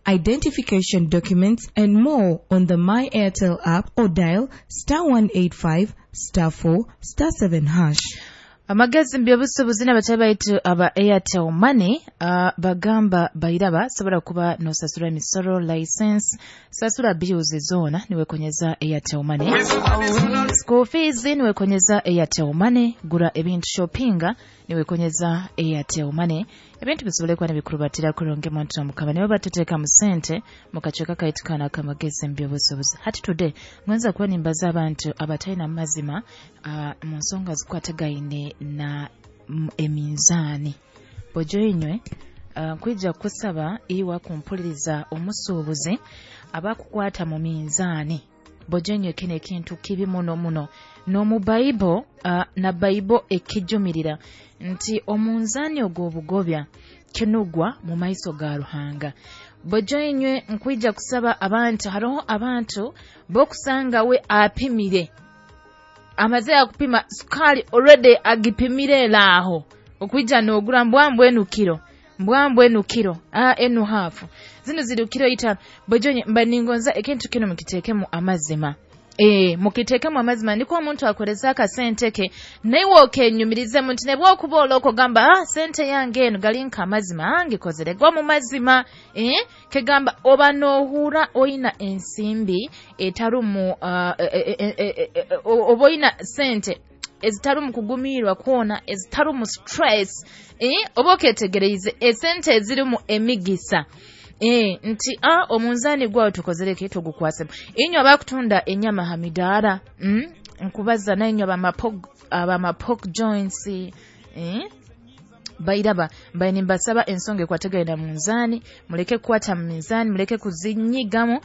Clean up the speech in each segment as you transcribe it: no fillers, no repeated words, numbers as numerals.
identification documents, and more on the My Airtel app or dial *185 *4 *7 hash. Amagezi mbyobusubuzi n'abatali baitu aba Airtel Money bagamba bairaba sobola kuba nosasura emisoro, license, sasura bills zoona niwekonyeza Airtel Money, school fees niwekonyeza Airtel Money, gura ebintu shoppinga niwekonyeza Airtel Money. Ebintu bisobole kuba nibikurubatira kurungi muntu mukama nibo batuteeka mu sente mukacweka kaitu kana akamagezi mbyobusubuzi. Hati today ngonza kuba nimbaza abantu abatalina mazima mu nsonga zikwatagaine na eminzaani. Bojo inywe nkwija kusaba iwa kumpuliriza omusuubuzi abakukwata mu minzaani. Bojo inywe kino ekintu kibi muno muno n'omu Baibo na Baibo ekijumirira nti omunzaani ogw'obugobya kinugwa mu maiso ga Ruhanga. Bojo inywe nkwija kusaba abantu, hariho abantu bokusanga we apimire amaze akupima sukali already agipimire eraho okwija nogura mbwambwe enu kiro, mbwambwe enu kiro, enu hafu, zino ziri kiro 5. Bojonye mba ningonza ekintu kino mukitekemu amazima. Mukitekemu amazima niko omuntu akoreza akasente ke naiwe okenyumirize muntu nebwokuba oloko gamba sente yange eno galinka amazima angikozere gwa mu mazima. Kegamba oba nohura oyina ensimbi etarumu oba oyina sente ezitarumu kugumirwa kwona, ezitarumu stress, oba oketegereize esente ezirimu emigisa. Nti omunzani gwawe tukozereke tugukwasemu. Inywe abakutunda enyama ha midaara, nkubaza nainywe abama pork joints, bairaba mbaye nimbasaba ensonga ekwatagaine munzani, muleke kukwata mu minzani, muleke kuzinyigamu.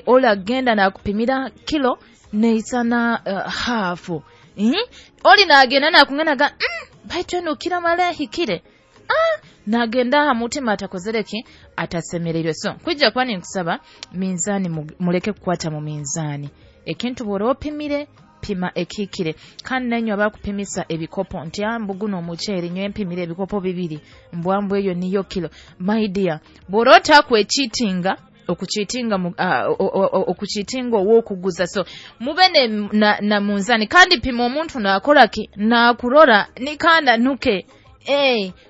Ola genda nakupimira kilo neisana hafu, oli nagenda nakunganaga baitu eno kila mara hikire nagenda aha mutima atakozereki atasemereirwe. So kwijja kuba ninkusaba minzani muleke kukwata mu minzani. Ekintu bw'oba opimire pima ekikire. Kandi nainywe abakupimisa ebikopo nti mbuguno omuceeri nywe mpimire ebikopo 2 mbwambwe eyo niyo kilo. My dear, bw'oba otakwekitinga okuchitinga okuchitinga owokuguza, so mube na munzani kandi pima omuntu nakolaki nakurora nikanda nuke.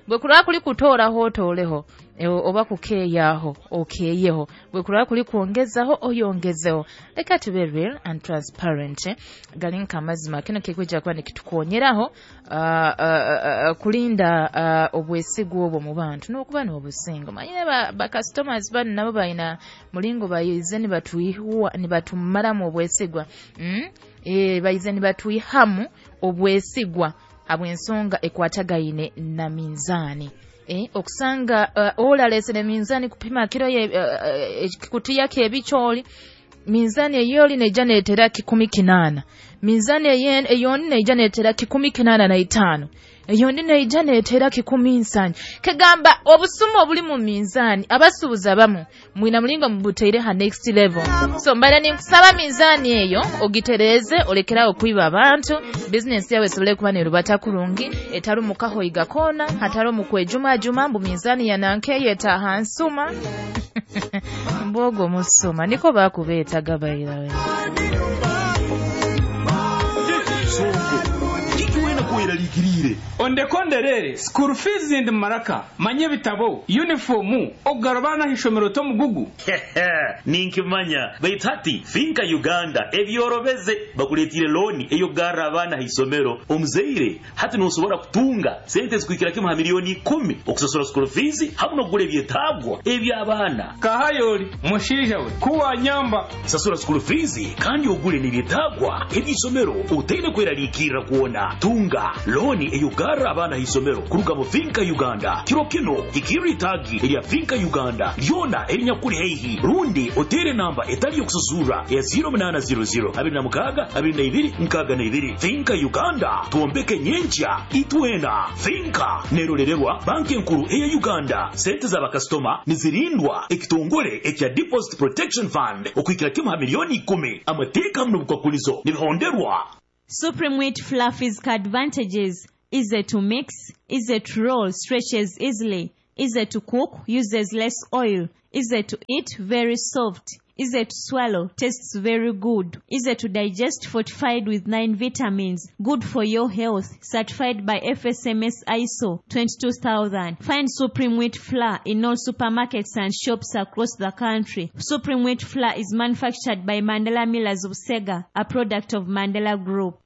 Bwe kulaba kuli kutooraho otooleho, oba kukeeyaho okeeyeho, bwe kulaba kuli kwongezaho oyongezeho. Leka tube real and transparent, galinka amazima. Kino kikwijja kuba nikitukonyeraho kulinda obwesigwa obwo mu bantu n'okuba n'obusingo. Manyine ba customers bano nabo balina mulingo bayize nibatumaramu obwesigwa, bayize nibatwihamu obwesigwa habw'ensonga ekwatagaine na minzani. Okusanga olalesere minzani kupima kiro ye kutiya kebicholi minzani eyoli neija netera 18, minzani eyoni neija netera 85, eyoni neija netera 17. Kegamba obusumu obuli mu minzani abasubuza bamu mwina mulingo mubuteire ha next level. So mbale ninkusaba minzani eyo ogitereze olekerawo kuiba abantu, business yawe esobole kuba nerubata kurungi etarumu kahoiga kona hatarumu kwejuma juma mbu minzani yananke yeta hansuma mbogo musuma niko bakubeta gabairawe. Ondekonderere school fees ndi maraka manye bitabo uniformu ogarabana hishomero to mugugu. Ninkimanya baitu hati Finka Uganda ebyorobeze bakuletire loni eyo garra abana hisomero omuzeire hati nosobora kutunga sente zikuikira kimu ha milioni 10 okusasura school fees hamwe nokugura ebyetagwa eby'abaana. Kahayoli mushinja we kuwa nyamba sasura school fees kandi ogule n'ebyetagwa eby'isomero utaine kwerarikirira kuona. Tunga loni eyo garra abana hisomero kuruga mu Finka Uganda. Kiro kino ikiri tagi erya Finka Uganda lyona erinyakuri heihi rundi otere namba etali yokusasura ya 0800 26 22 62. Finka Uganda tuombeke nyencha itwena. Finka nerorererwa banki enkuru eya Uganda. Sente za bakastoma nizirindwa ekitongole ekya Deposit Protection Fund okuikira kimu ha milioni 10. Amateeka muno bukwakulizo nibihonderwa. Supreme Wheat Fluffy's advantages: easy to mix, easy to roll, stretches easily, easy to cook, uses less oil, Easy to eat, very soft. Easy to swallow, tastes very good. Easy to digest, fortified with 9 vitamins. Good for your health. Certified by FSMS ISO 22000. Find Supreme Wheat Flour in all supermarkets and shops across the country. Supreme Wheat Flour is manufactured by Mandela Millers of Sega, a product of Mandela Group.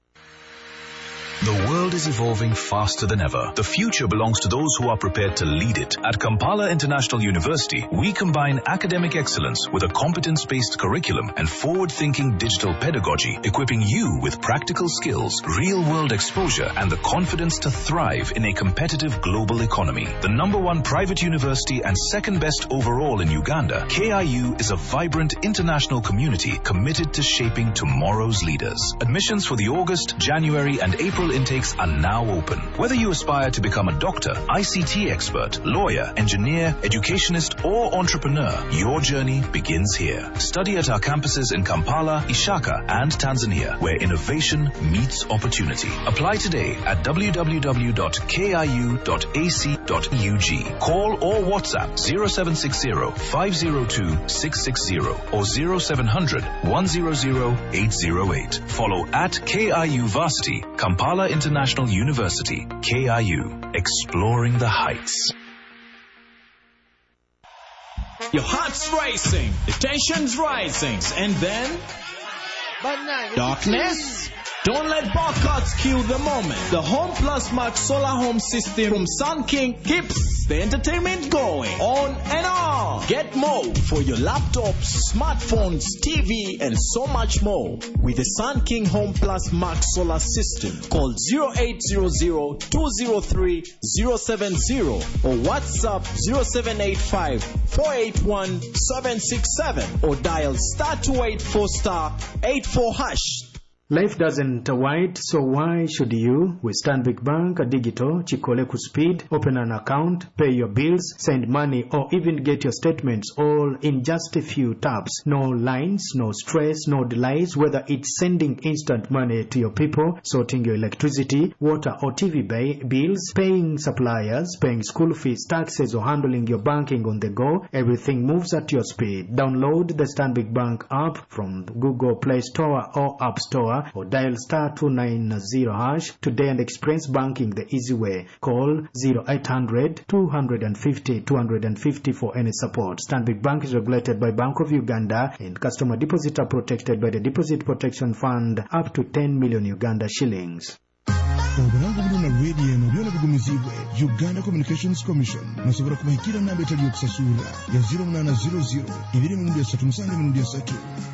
The world is evolving faster than ever. The future belongs to those who are prepared to lead it. At Kampala International University, we combine academic excellence with a competence-based curriculum and forward-thinking digital pedagogy, equipping you with practical skills, real-world exposure, and the confidence to thrive in a competitive global economy. The number one private university and second best overall in Uganda, KIU is a vibrant international community committed to shaping tomorrow's leaders. Admissions for the August, January, and April intakes are now open. Whether you aspire to become a doctor, ICT expert, lawyer, engineer, educationist, or entrepreneur, your journey begins here. Study at our campuses in Kampala, Ishaka, and Tanzania, where innovation meets opportunity. Apply today at www.kiu.ac.ug. Call or WhatsApp 0760 502 660 or 0700 100 808. Follow at KIU Varsity, Kampala International University, KIU, exploring the heights. Your heart's racing, the tension's rising, and then darkness. Don't let barcodes kill the moment. The Home Plus Max Solar Home System from Sun King keeps the entertainment going on and on. Get more for your laptops, smartphones, TV, and so much more with the Sun King Home Plus Max Solar System. Call 0800 203 070 or WhatsApp 0785 481 767 or dial star 284 star 84 hash. Life doesn't wait, so why should you? With Stanbic Bank Digital, Chikole Speed, open an account, pay your bills, send money, or even get your statements all in just a few taps. No lines, no stress, no delays, whether it's sending instant money to your people, sorting your electricity, water or TV bills, paying suppliers, paying school fees, taxes, or handling your banking on the go, everything moves at your speed. Download the Stanbic Bank app from Google Play Store or App Store, or dial star 290 hash today and experience banking the easy way. Call 0800 250 250 for any support. Stanbic Bank is regulated by Bank of Uganda and customer deposits are protected by the Deposit Protection Fund up to 10 million Uganda shillings. Obulango bulina rediyo eno byona bigumizibwe Uganda Communications Commission. Nosobola kubahikira namba etali yokusasura ya 0800 2 3 7 3.